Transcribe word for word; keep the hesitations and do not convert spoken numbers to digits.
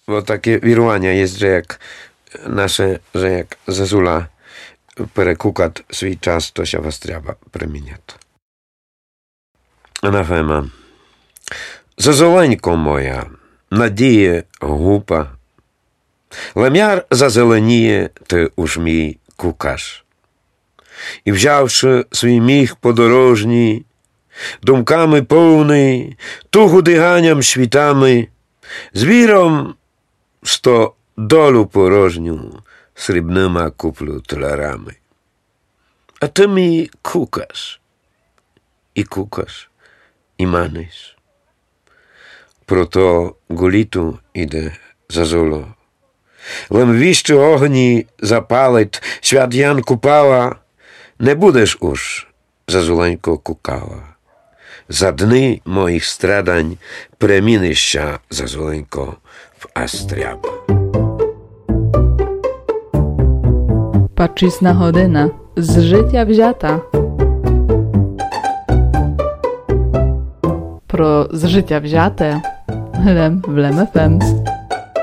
Бо таке віруваня єст, же як наше, же як зазула перекукат свій час, то ся в астряба премінят. Анафема. Зазуленько моя, надіє гупа, лем яр зазеленіє, ты уж мій кукаш. І взявши свій міх подорожній, думками повный, тугу диганям світами, звіром сто долю порожню срібныма куплю тлярами. А ты мій кукаш, і кукаш, і маниш. Прото ґу літу іде зазуло. Лем віщы огні запалит свят Ян Купала, не будеш уж, зазуленько, кукала. За дни моїх страдань преміниш ся, зазуленько, в астряба. Пачисна година з житя взята. Про з житя взяте лем в Лем ФМ.